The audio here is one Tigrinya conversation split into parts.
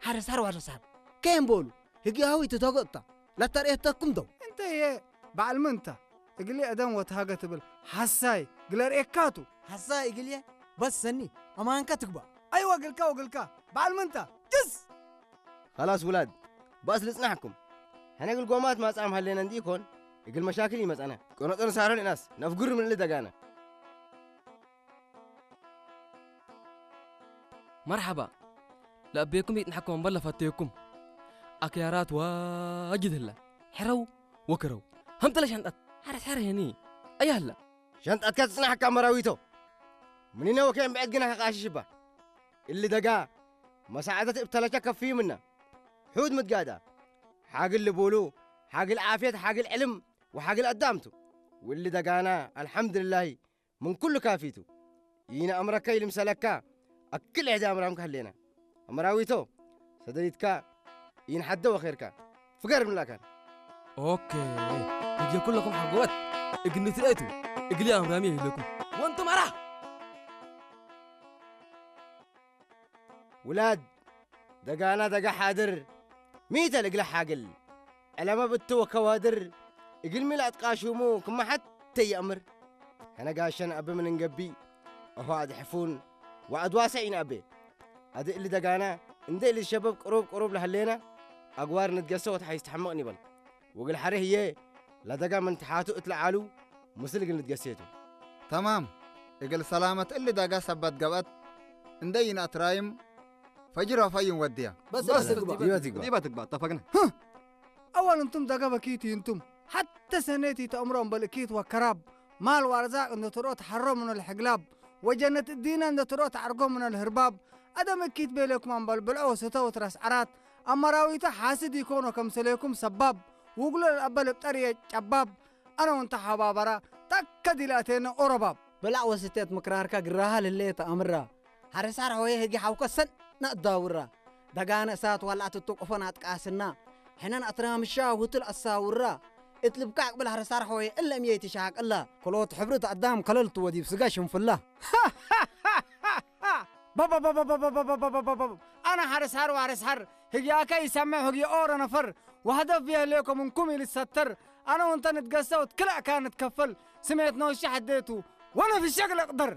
ኣረሳር ዋረሳር ከየም በሉ ህጊ ሃዊ ትተገጥታ ላተርእየተኩም ደው እንተየ በዓል ምንታ እግሊ ኣደም ወትሃገ ትብል ሓሳይ ግለርእየካቱ ሓሳይ እግልየ በሰኒ ኣማንካ ትግባ ኣይወግልካ ወግልካ በዓል ምንታ ጅስ خلاص ولاد ባስ ልጽናሕኩም ሕነ ግልጎማት ማጻም ሃለና እንዲኮን እግል መሻክል ይመጻና ቆነጦን ሳሮን እናስ ነፍጉር ምን ልደጋና መርሓባ ለኣቤኩም ይጥንሐኩም እምበር ለፈተየኩም ኣክያራት ዋጅድ ህላ ሕረው ወክረው ሃምተለ ሻንጣት ሓረስ ሓረ የኒ ኣያ ህላ ሻንጣትካ ትጽናሕካ መራዊቶ ምኒነ ወከየን ብዕድ ግና ከቃሽሽ እባ እሊ ደጋ መሳዕደት እብተለቻ ከፍይምና ሑድ ምትጋዳ ሓግል ልቡሉ ሓግል ዓፍየት ሓግል ዕልም ወሓግል ኣዳምቱ ውሊ ደጋና ኣልሓምድልላሂ ምን ኩሉ ካፊቱ ይነ ኣምረካ ይልምሰለካ ኣክል ዕዳ ኣምራምካ ህሌና ኣምራዊቶ ሰደሪትካ ይን ሓደ ወኼርካ ፍገር ምላካን ኦኬ እጀ ኩለኹም ሓጎበት እግኒ ትርእቱ እግሊ ኣምራሚ ይህለኩም ወንቱ ማራ ውላድ ደጋና ደጋ ሓድር ሚተ ልግለ ሓግል ዕለማ ብትወ ከዋድር እግል ሚል ኣጥቃሹሙ ክመሓት ተየእምር ሕነ ጋሸን ኣበ ምን እንገቢ እሆ ኣድሕፉን ወኣድዋሰ ኢንኣቤ ኣደ እሊ ደጋና እንደ እሊ ሸበብ ቅሩብ ቅሩብ ለሃሌና ኣግዋር ንትገሰ ወትሓይስ ተሐምቕ ኒበል ወግል ሐሬ ህዬ ለደጋ ምን ተሓቱ እትለዓሉ ምስል እግል ንትገሴቱ። ተማም እግል ሰላመት እሊ ደጋ ሰበት ገብአት እንደ ይንአት ራይም ፈጅር ወፈይን ወድያ። በስ በስ ትግባ። ይበት ይግባ። ዲባ ትግባ ተፈግነ። أول أنتم دقا بكيتي أنتم حتى سنيتي تأمرون بالأكيت وكراب مال وأرزاق أن ترؤت حرم من الحقلاب وجنة الدين أن ترؤت عرقون من الهرباب أدم أكيت بيلكم أن بالبلع وستو ترس عرات أما راويته حاسد يكون كمسليكم سباب وقل الأبل بطريق شباب ኣነ እውን ተሓባበራ ታካ ዲላእተየኒ ኦረባብ። ብላዕ ወስተት ምክራርካ ግራሃ ልለየ ተኣምራ። ሓረሳር ሆየ ህጊ ሓውከ ሰን ናእዳውራ። ደጋነ እሳት ዋላዕ ትትቁፈን ኣጥቃስና። ሕነን ኣትራምሻ ውትል ኣሳውራ። እትልብካ ኣቅብል ሓረሳር ሆየ እለም የይ ትሻቅላ። ክሎት ሕብሪ ተኣዳም ከለል ትወዲብ ስጋ ሽንፍላ። ኣነ ሓረሳር ዋረሳር ህግያካ ይሰምዕ ህግዮ ኦረ ነፈር። ወህደፍ ብየህልየኮ ምንኩም ኢልሰተር ኣነ ወንተ ንትገሰው ትክላእካ ንትከፈል ስሜት ነውሺ ሐዴቱ ወነፍሸግ ለቅደር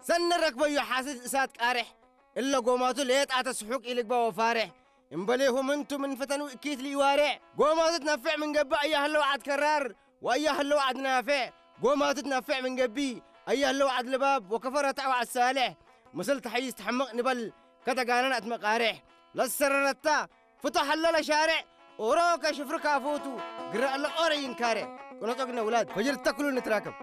ሰኒ ረክበዮ ሓስድ እሳት ቃርሕ እለ ጎማቱ ሌጣ ተስሑቅ ኢልግባ ወፋርሕ እምበሌሁም እንቱ ምን ፈተኑ እኪት ሊዋርዕ ጎማቱ ትነፍዕ ምን ገብእ ኣያህለው ዓድ ከራር ወኣያህለው ዓድ ናፍዕ ጎማቱ ትነፍዕ ምን ገቢ ኣያህለው ዓድ ልባብ ወከፈረታ ወዓድ ሳልሕ ምስል ተሐይስ ተሐምቕ ንበል ከተጋነን ኣትመቃርሕ ለሰረረታ ፍቶ ሐለለ ሻርዕ ኦሮ ከሽፍር ካፎቱ ግረአለ ኦረ ይንካርዕ ቅነጦ ግነ ውላድ ፈጅር ተክሉ ንትራከብ